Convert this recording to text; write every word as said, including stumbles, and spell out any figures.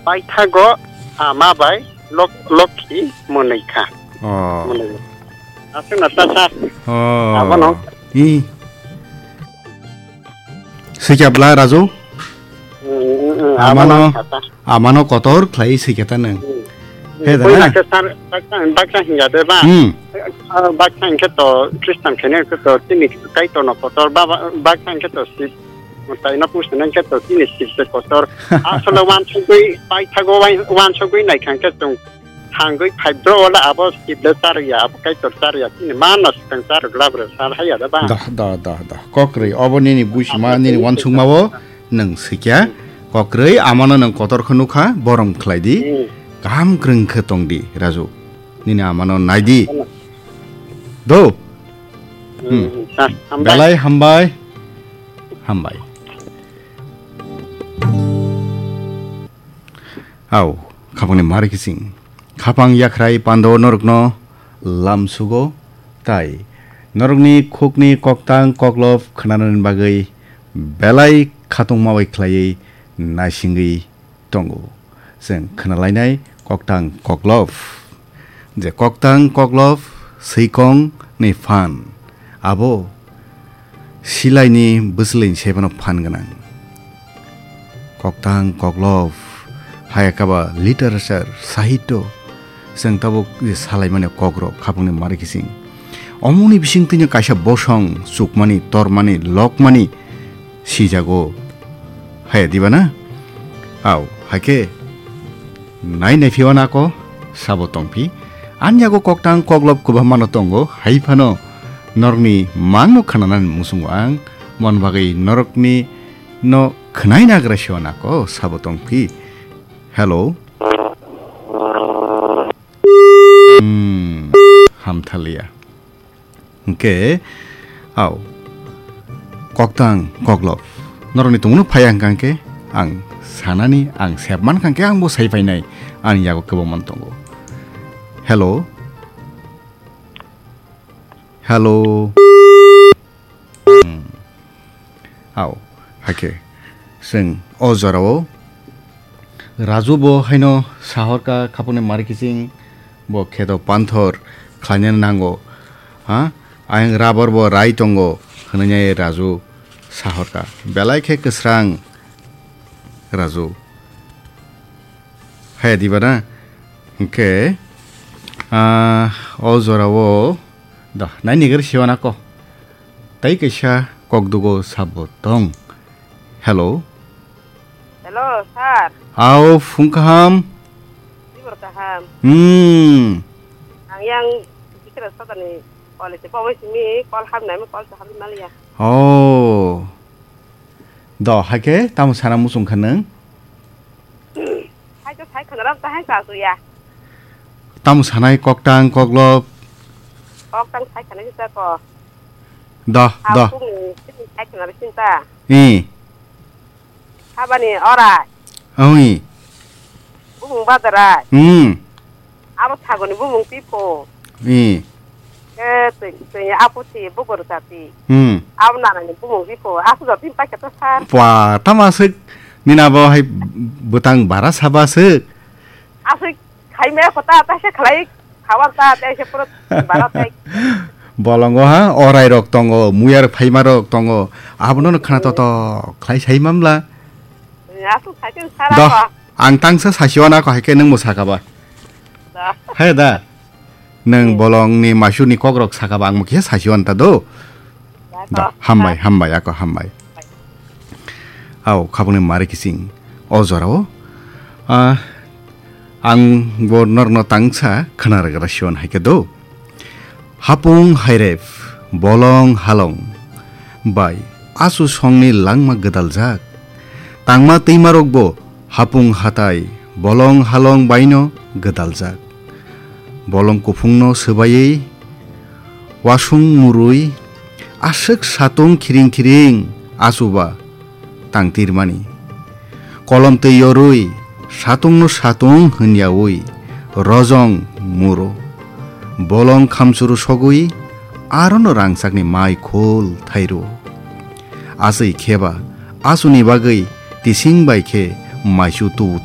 paithago ama bai lok-, lokhi mwnwi kha. Oh. Mwnwi. Aswkno ta sa. Oh. Abono. I. Sikya bla Raju? Mm, mm, mm, Amano, abono kha ta. Amano kotor khlai sikya ta nang. Mm. He da Buina na? Khe sar, baksa, baksa hingya de ba? Hmm. Ah, baksa hingkhe to Christian khainai khe to tini Kaitorno kotor, ba, ba, baksa hingkhe to si Taino pusina khe to chini sibse kotor. Asole wansugwi paithago wai-, wansugwi naikha khe chwng thangwi phaibro wala abo sible charya, abo Kaitor charya. Chini manno swkang charwk labre sal haiya da ba? Dah, dah, dah, dah. Kokrwi, obo nini buisima, nini wansukma-o nwng sikya. Hmm. Kokrwi, amano nwng kotor khe nukha, borom khlai di. Hmm. Kaham kwrwng khe tong di, Raju. Nini amano nai di. Ano. Do. Hmm. Hmm, ha, hambai. Belai hambai. Hambai. Au, khapangni mari kising. Khapang yakhrai pando norokno lam sugo, tai norokni khukni koktang koklop khnanani bagwi belai khatungma bai khlaiwi naisingwi tongo. Chwng khnalainai koktang koklop. Je koktang koklop swikong ni phan. Abo silaini bwswlwini sebano phan gwnang. Koktang koklop hayakaba literature, sahityo, chwng tabuk je salaimani kokrok khapangni mari kising. Omoni bisingtwino kaisa bosong chukmani, tormani, lokmani sijago. Haya diba na? Au, haikhe nai nai phiyo nako, sabo tongphi. Ani yago koktang koklop kwbangmano tongo, hai phano norokni mangno khnanani muchungo ang, mon bagwi norokni no khwnai nagra sio nako, sabo tongphi. Hello. Hmm, hamthaliya. Hwnkhe, au, koktang, koklop. Norokni tongmano phaiya hwnkha hwnkhe, ang sanani, ang sep mankha hwnkhe, ang bo sai phainai, ani yago kwbangma tongo. Hello? Hello? Hmm. Au, hakhe, chwng o jorao Raju bo haino sahorka khapangni mari kiching bo kheto panthor khlaina nango, ha? Ayang rubber bo rai tongo, hwnwi Raju sahorka. Belai khe kwsrang Raju. Haya diba na? Hwnkhe, ah, o jorao, da, nai nigir siwana ko. Tai kaisa kokdugo sabo tong. Hello. Hello, sir. Ao, phung kaham. Tibor kaham. Hmm. Ang yang bikra satani college pawai simi call ham nai mo call sa ham maliya. Oh. Do, haikhe tamo sana muchung kha nwng? Hai to sai khwnaram ta hai sa suya. Tamo sanai koktang koklop? Koktang sai khwnaisa ko. Do, do. Sai khwnarai sinta. I. Habani orai. Oi. Bumung badarai. Hmm. Abo sagoni bumung Pipho. Hmm. Eh, twi, twi apo si bukur sati. Hmm. Abo nanani bumung Pipho. Aku jati pakai to sar. Pwa, tama sik. Nina bo hai butang bara saba sik. Asik khai me kota ta se khlai khawar ta te se pura bara tai. Bolongo ha, orai rok tongo, muyar phaima rok tongo. Abono khana to to khlai sai mamla. Asuk sai sara. Doh, ko. Ang tangsa sasiwana ko haikhe nang mo sakaba. Da. Hai da. Nang bolongni masuni kokrok sakaba ang mo khe sasiwan ta do. Da, da, ko. Hambai, hambai, ako hambai. Au, khabangni mari kising. O jorao, ah, ang bo norno tangsa khana rwgra siwan haikhe do. Hapung hairep, bolong halong bai asu songni langma gwdaljak. Tangma twimarokbo hapung hatai bolong halong baino gwdaljak. Bolong kuphungno swbaiwi wasung murwi aswk satung khiring khiring achuba tangtirmani. Kolom twi yorwi satungno satung hwnyawi rojong muro. Bolong khamchuru sogwi arono rangchakni mai khul thairo. Aswi kheba asuni bagwi tising bai khe maisu tubu